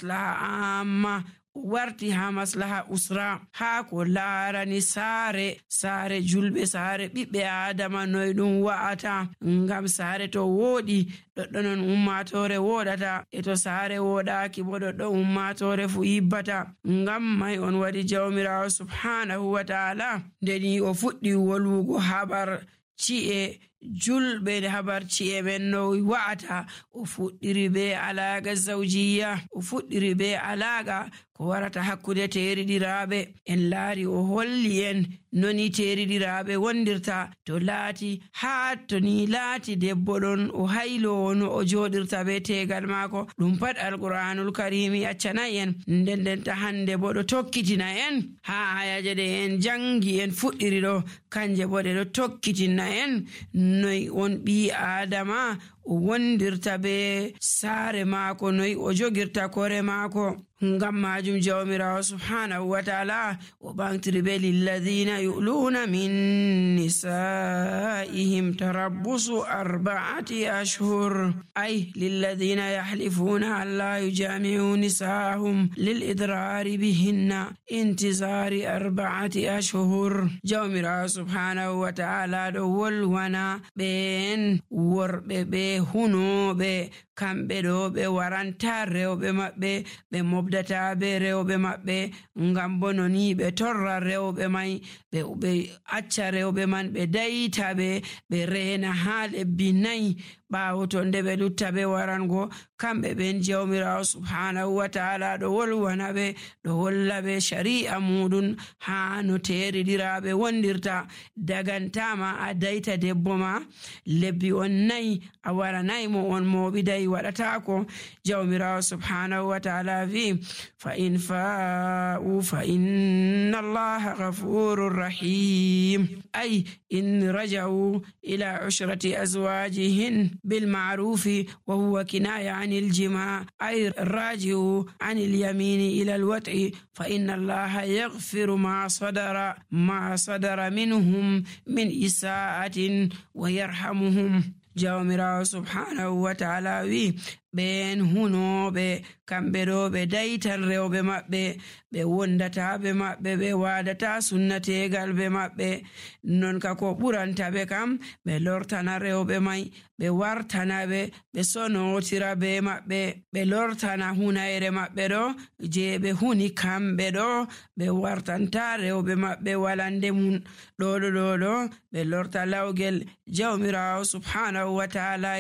maslaha amma warti ha maslaha usra, ha ko laarani saare julɓe, saare ɓiɓɓe adama noy ɗum wa'ata. Ngam saare to woɗi ɗoɗɗo non ummatore woɗata, e to saare woɗaki bo ɗoɗɗo ummatore fu yibbata. Ngam mai on waɗi jawmirawo subhanahu wa ta'ala ndeni o fuɗɗi wolwugo habar ci'e julɓe, habar ci'e men no wa'ata. O fuɗɗiri be alaga zawjiya, o fuɗɗiri be alaga ko warata hakkude teriɗiraɓe. En laari o holli en noni teriɗiraɓe wondirta to laati ha to ni laati debbo ɗon o haylowo no o joɗirta be tegal maako. Ɗum pat alqur'anul karimi accanayi en. Nden ta hande bo ɗo tokkitina en ha ayaje ɗe en jangi en fuɗɗiri ɗo, kanje bo ɗe ɗo tokkitina en noy on ɓi adama o wondirta be saare maako, noy o jogirta kore maako. Ngam majum jawmirawo subhanahu wa ta'ala o ɓantiri be lilladhina yu'luna min nisaihim tarabbusu 4 ashhur, ay lilladhina yahlifuna an la yujami'u nisahum lil idrari bihinna intizari 4 ashhur. Jawmirawo subhanahu wa ta'ala ɗo wolwana ɓen worɓe ɓe hunoɓe, kamɓe ɗo ɓe waranta rewɓe maɓɓe, ɓe mobdata be rewɓe maɓɓe. Ngam bo noni ɓe torra rewɓe mai, ɓe acca rewɓe man ɓe dayita ɓe reena ha lebbi 4 ɓaawo to nde ɓe lutta be warango. Kamɓe ɓen jawmirawo subhanahu wa ta'ala ɗo wolwana ɓe, ɗo holla ɓe shari'a muɗum ha no teriɗiraɓe wondirta. Dagantama a dayta debbo ma lebbi on 4 a waranayi mo on moɓidayi, waɗatako. Jawmirawo subhanahu wa ta'ala vi fa in fa'u fa inna allaha ghafurur rahim, ay in raja'u ila ushrati azwajihin بالمعروف وهو كناية عن الجماع، أي الراجع عن اليمين إلى الوطء، فإن الله يغفر ما صدر منهم من إساءة ويرحمهم. jawmirawo subhanahu wa ta'ala wi ɓen hunoɓe kamɓe ɗo ɓe daytan rewɓe maɓɓe, ɓe wondata ɓe maɓɓe, ɓe wadata sunnategal ɓe maɓɓe. Non ka ko ɓuranta ɓe kam ɓe lortana rewɓe mai, ɓe wartana ɓe sonotira be maɓɓe, ɓe lortana hunayre maɓɓe ɗo je ɓe huni kamɓe ɗo, ɓe wartanta rewɓe maɓɓe walande mum ɗo ɓe lorta lawgel. Jawmirawo subhanahu wa ta'ala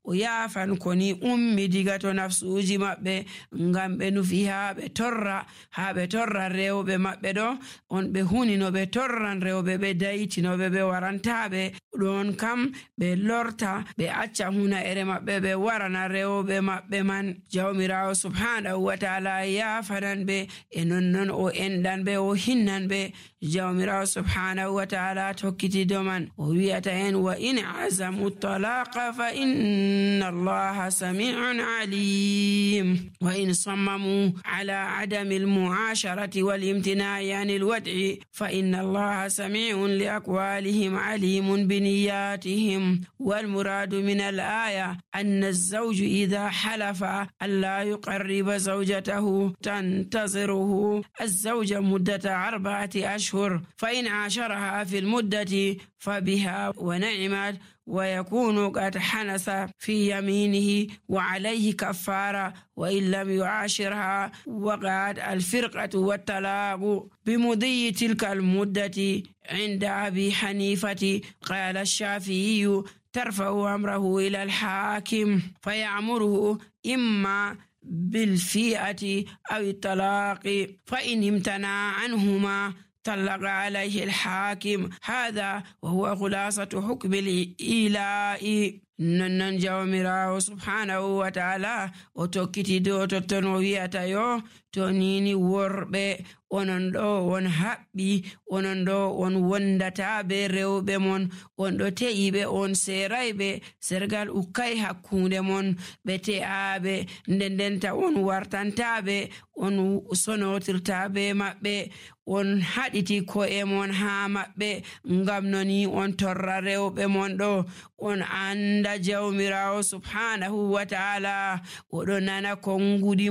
o yafan koni ummi diga to nafsuji maɓɓe, ngam ɓe nufi ha ɓe torra rewɓe maɓɓe ɗo, on ɓe huni no ɓe torran rewɓe, ɓe daytinoɓe, ɓe warantaɓe ɗon kam ɓe lorta ɓe acca huna'ere maɓɓe, ɓe warana rewɓe maɓɓe man. Jawmirawo subhanahu wa ta'ala yafanan ɓe, e nonnon o enɗan ɓe, o hinnan ɓe. Jawmirawo subhanahu wa ta'ala tokkiti doman o wiyata en wa in azamu talaqa fa inna allaha sami'un alim wa in sammamu ala adami almu'asharati wal imtina'i anil wad'i fa inna allaha sami'un li aqwalihim alimun bi niyyatihim. wal muradu min al aya anna az-zawju idha halafa alla yuqarriba zawjatahu tantaziruhu az-zawja muddata 4 ashhur فإن عاشرها في المدة فبها ونعمت ويكون قد حنث في يمينه وعليه كفارة، وإن لم يعاشرها وقعت الفرقة والطلاق بمضي تلك المدة. عند أبي حنيفة قال الشافعي ترفع أمره إلى الحاكم فيأمره إما بالفيئة أو الطلاق، فإن امتنع عنهما طلق عليه الحاكم. هذا وهو خلاصة حكم الإيلاء. ننن jawmirawo subhanahu wa ta'ala o tokkiti do totton o wiyata yo to nini worɓe onon ɗo on haɓɓi, onon ɗo on wondata be rewɓe mon, on ɗo te'iɓe, on serayɓe, sergal ukkay hakkunde mon, ɓe te'aɓe, ndendenta on wartantaɓe, on sonotirta be maɓɓe, on haɗiti ko'e mon ha maɓɓe, ngam noni on torra rewɓe mon ɗo. On anda jawmirawo subhanahu wa ta'ala oɗo nana kongudi